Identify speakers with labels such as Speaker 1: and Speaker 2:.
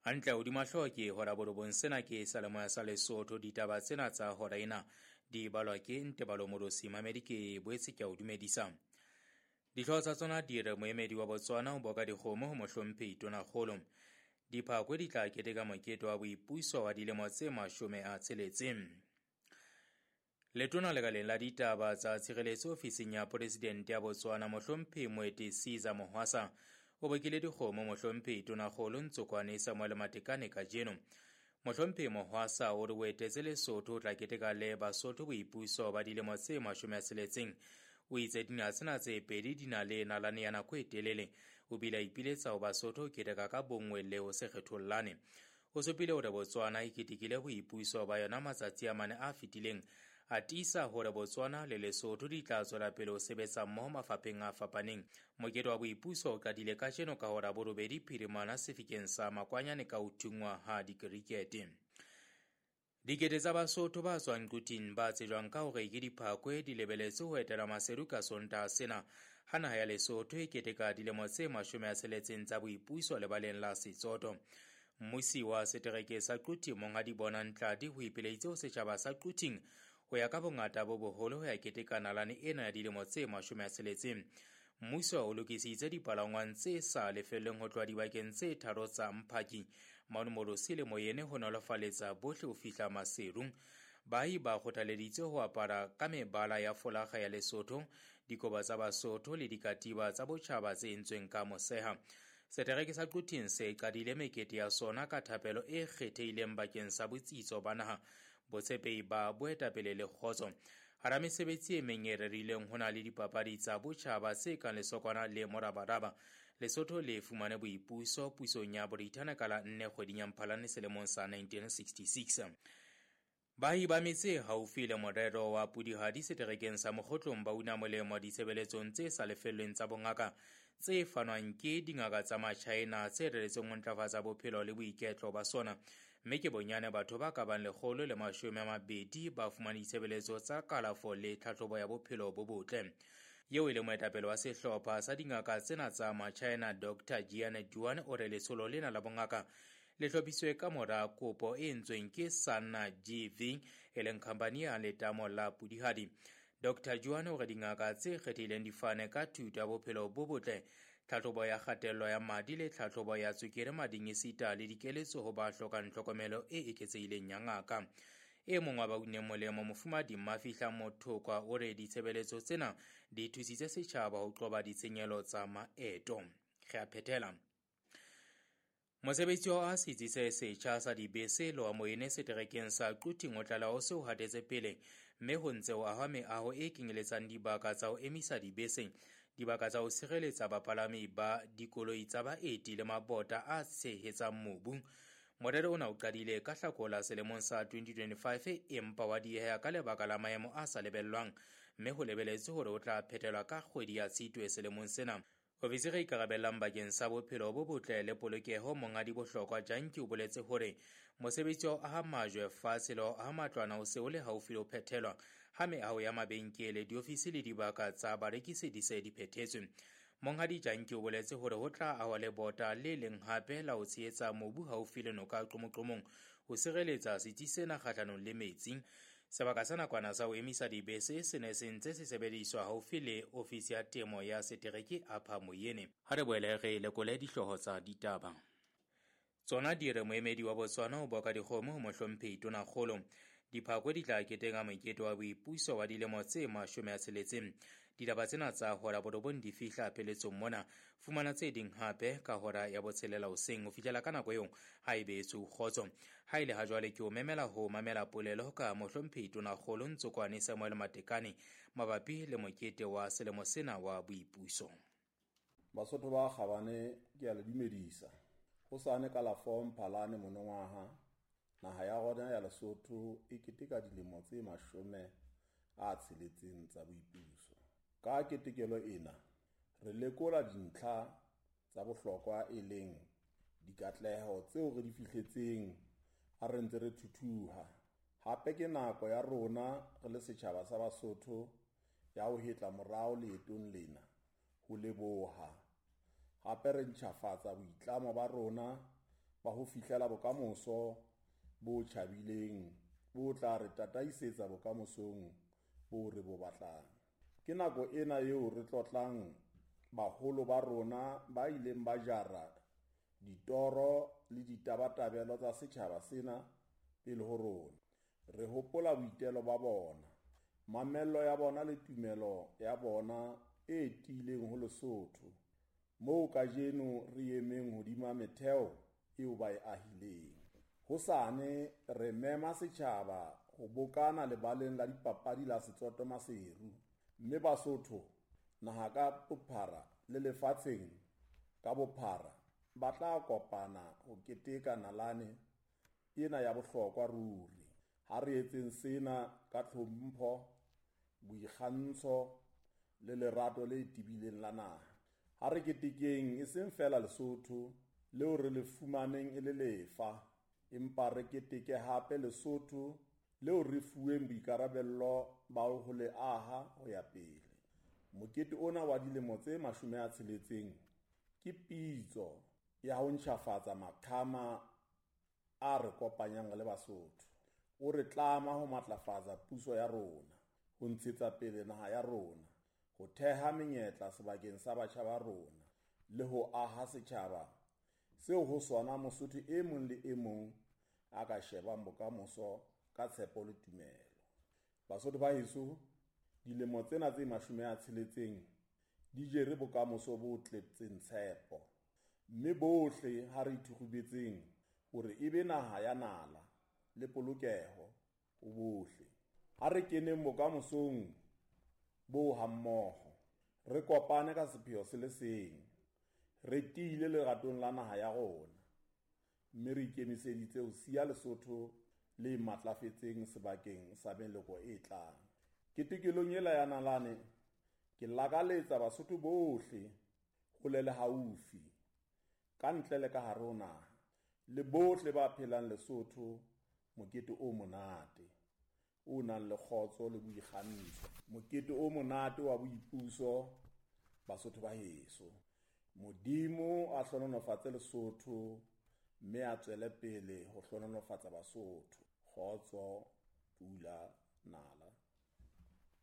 Speaker 1: Hantle hodima hlooho ke hora borobong. Sena ke Salemoya sa Lesotho. Ditaba tsena tsa hora ena di balwa ke Ntebalo Morosi. Mamedi, ke boetse ke a o dumedisa. Dihlooho tsa tsona di re moemedi wa Botswana o boka dikgomo ho mohlomphehi Tonakgolo. Diphakwe di tla keteka mokete wa boipuso wa dilemo tse 60. Letona lekaleng la ditaba tsa tshireletso ofising ya Poresidente ya Botswana, mohlomphehi Moeti Caesar Mohwasa, o bokile dikgomo mohlomphehi Tonakgolo Ntsokoane Samuel Matekane kajeno. Mohlomphehi Mohwasa o re o etetse Lesotho o tla keteka le Basotho boipuso ba dilemo tse 60. O itse dinaha tsena tse pedi di na le nalane ya nako e telele. O bile a ipiletsa ho Basotho ho keteka ka bonngwe le ho se kgethollane. O supile hore Botswana e ketekile boipuso ba yona matsatsi a mane a fetileng, a tiisa hore Botswana le Lesotho di tla tswela pele ho sebetsa mmoho mafapheng a fapaneng. Mokete wa boipuso o qadile kajeno ka hora 8 phirimana sefikeng sa Makwanyane ka ho thunngwa ha dikerikete. Dikete tsa Basotho ba tswang Quthing ba tsejwang ka hore ke diphakwe di lebeletse ho etela Maseru ka Sontaha sena ha naha ya Lesotho e keteka dilemo tse 60 tsa boipuso lebaleng la Setsoto. Mmusi wa setereke sa Quthing, Monghadi Bonang Tladi, ho ipileditse ho setjhaba sa Quthing ho ya ka bongata bo boholo ho ya keteka nalane ena ya dilemo tse 60. Mmuso o lokisitse dipalangwang tse sa lefellweng ho tloha dibakeng tse tharo tsa Mphaki, Manomorosi le Moyene ho nolofaletsa bohle ho fihla Maseru. Baahi ba kgothaleditswe ho apara ka mebala ya folakga ya Lesotho, dikobo tsa Basotho le dikatiba tsa botjhaba tse entsweng ka moseha. Setereke sa Quthing se qadile mekete ya sona ka thapelo e kgethehileng bakeng sa botsitso ba naha, botshepehi ba boetapele le kgotso. Hara mesebetsi e meng e rerileng ho na le dipapadi tsa botjhaba tse kang lesokwana le morabaraba. Lesotho le fumane boipuso pusong ya Borithane ka la 4 kgweding ya Mphalane selemong sa 1966. Baahi ba metse haufi le morero wa Pudihadi seterekeng sa Mokgotlong ba una molemo ditshebeletsong tse sa lefellweng tsa bongaka tse fanwang ke dingaka tsa Machina tse reretsweng ho ntlafatsa bophelo le boiketlo ba sona. Mme ke bonyane batho ba ka bang 120 ba fumane ditshebeletso tsa kalafo le tlhahlobo ya bophelo bo botle. Eo e le moetapele wa sehlopha sa dingaka tsena tsa Machina, Dr. Jian Duan, o re letsholo lena la bongaka le hlophiswe ka mora kopo e entsweng ke Sanna GV, e leng khampani ya letamo la Pudihadi. Dr. Juan o re dingaka tse kgethehileng di fane ka thuto ya bophelo bo botle, tlhahlobo ya kgatello ya madi le tlhahlobo ya tswekere mading esita le dikeletso ho ba hlokang tlhokomelo e eketsehileng ya ngaka. E mong wa ba uneng molemo, Mofumadi Mafihla Mothokwa, o re ditshebeletso tsena di thusitse setjhaba ho qoba ditshenyehelo tsa maeto. Re a phethela. Mosebetsi wa setsi se setjha sa dibese le wa Moyene seterekeng sa Quthing o tlaleha o se o hatetse pele, mme ho ntse ho ahwa meaho e kenyeletsang dibaka tsa ho emisa dibese, dibaka tsa ho sireletsa bapalami ba dikoloi tsa baeti le mabota a tshehetsang mobu. Morero ona o qadile ka Hlakola selemong sa 2025 empa wa dieha ka lebaka la maemo a sa lebellwang, mme ho lebeletswe hore o tla phethelwa ka kgwedi ya Tshitwe selemong sena. Ofisiri e ikarabellang bakeng sa bophelo bo botle le polokeho, Monghadi Bohlokwa Janki, o boletse hore mosebetsi wa ho aha majwe fatshe le wa ho aha matlwana o se o le haufi le ho phethelwa, ha meaho ya mabenkele, diofisi le dibaka tsa barekisi di se di phethetswe. Monghadi Janki o boletse hore ho tla ahwa lebota le leng hape la ho tshehetsa mobu haufi le noka Qomoqomong ho sireletsa setsi sena kgahlanong le metsi. Sebaka sa nakwana sa ho emisa dibese se ne se ntse se sebediswa haufi le ofisi ya temo ya setereke Upper Moyene. Ha re boele re lekole dihlooho tsa ditaba. Tsona di re moemedi wa Botswana o boka dikgomo ho mohlomphehi Tonakgolo. Diphakwe di tla keteka mokete wa boipuso wa dilemo tse 60. Ditaba tsena tsa hora 9 di fihla pheletsong mona. Fumana tse ding hape ka hora ya 6 hoseng ho fihlela ka nako eo ha e beetswe kgotso. Ha ile ha jwale ke o memela ho mamela polelo ka mohlomphehi Tonakgolo Ntsokoane Samuel Matekane mabapi le mokete wa selemo sena wa boipuso.
Speaker 2: Basotho ba kgabane, ke a le dumedisa. Hosane ka la 4 Mphalane monongwaha, naha ya rona ya Lesotho e keteka dilemo tse 60 tsa boipuso. Ka ketekelo ena, re lekola dintlha tsa bohlokwa e leng dikatleho tseo re di fihletseng ha re ntse re thuthuha. Hape ke nako ya rona re le setjhaba sa Basotho ya ho hetla morao leetong lena, ho leboha. Hape re ntjhafatsa boitlamo ba rona ba ho fihlela bokamoso bo tjhabileng bo tla re tataisetsa bokamosong bo re bo batlang. Ke nako ena eo re tlotlang baholo ba rona ba ileng ba jara ditoro le ditabatabelo tsa setjhaba sena pele ho rona. Re hopola boitelo ba bona, mamello ya bona le tumelo ya bona e tiileng ho Lesotho, moo kajeno re emeng hodima metheo eo ba e ahileng. Hosane re mema setjhaba ho bokana lebaleng la dipapadi la Setsoto Maseru, mme Basotho naha ka bophara le lefatsheng ka bophara ba tla kopana ho keteka nalane ena ya bohlokwa ruri. Ha re etseng sena ka tlhompho, boikgantsho le lerato le tebileng la naha. Ha re ketekeng e seng feela Lesotho leo re le fumaneng e le lefa, empa re keteke hape Lesotho leo re fuweng boikarabello ba ho le aha ho ya pele. Mokete ona wa dilemo tse 60 ke pitso ya ho ntjhafatsa maqhama a re kopanyang le Basotho. O re tlama ho matlafatsa puso ya rona, ho ntshetsa pele naha ya rona, ho theha menyetla sebakeng sa batjha ba rona, le ho aha setjhaba seo ho sona Mosotho e mong le e mong a ka shebang bokamoso ka tshepo le tumelo. Basotho ba heso, dilemo tsena tse 60 di jere bokamoso bo tletseng tshepo, mme bohle ha re ithukgubetseng hore e be naha ya nala le polokeho ho bohle. Ha re keneng bokamosong bo hammoho, re kopane ka sepheo se le seng, re tiile leratong la naha ya rona, mme re ikemiseditse ho siya Lesotho le matlafetseng sebakeng sa meloko e tlang. Ketekelong ela ya nalane, ke lakaletsa Basotho bohle hole le haufi, ka ntle le ka hare ho naha, le bohle ba phelang Lesotho mokete o monate, o nang le kgotso le boikgantsho. Mokete o monate wa boipuso, Basotho ba heso. Modimo a hlohonolofatse Lesotho mme a tswele pele ho hlohonolofatsa Basotho. Kgotso, pula, nala.